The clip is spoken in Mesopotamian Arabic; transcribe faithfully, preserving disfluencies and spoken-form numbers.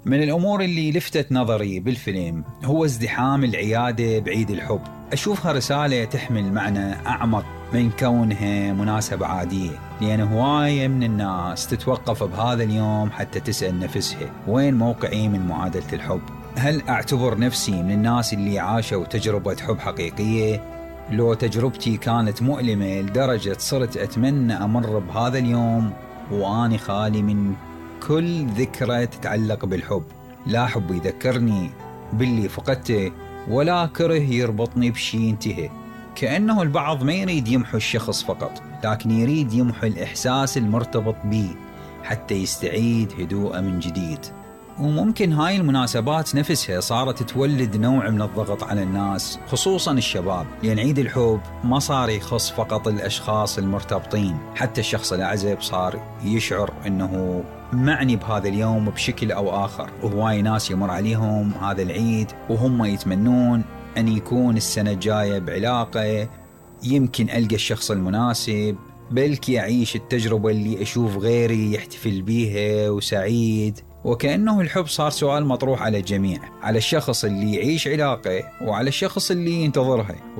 من الأمور اللي لفتت نظري بالفيلم هو ازدحام العيادة بعيد الحب. أشوفها رسالة تحمل معنى أعمق من كونها مناسبة عادية، لأن هواية من الناس تتوقف بهذا اليوم حتى تسأل نفسها وين موقعي من معادلة الحب؟ هل أعتبر نفسي من الناس اللي عاشوا تجربة حب حقيقية؟ لو تجربتي كانت مؤلمة لدرجة صرت أتمنى أمر بهذا اليوم وأني خالي من كل ذكرى تتعلق بالحب، لا حب يذكرني باللي فقدته ولا كره يربطني بشي انتهى. كأنه البعض ما يريد يمحو الشخص فقط، لكن يريد يمحو الإحساس المرتبط به حتى يستعيد هدوءه من جديد. وممكن هاي المناسبات نفسها صارت تولد نوع من الضغط على الناس، خصوصا الشباب، لأن عيد الحب ما صار يخص فقط الأشخاص المرتبطين، حتى الشخص الأعزب صار يشعر أنه معني بهذا اليوم بشكل أو آخر. وهواي ناس يمر عليهم هذا العيد وهم يتمنون أن يكون السنة الجاية بعلاقة، يمكن ألقى الشخص المناسب، بلكي أعيش التجربة اللي أشوف غيري يحتفل بيها وسعيد. وكأنه الحب صار سؤال مطروح على الجميع، على الشخص اللي يعيش علاقة وعلى الشخص اللي ينتظرها.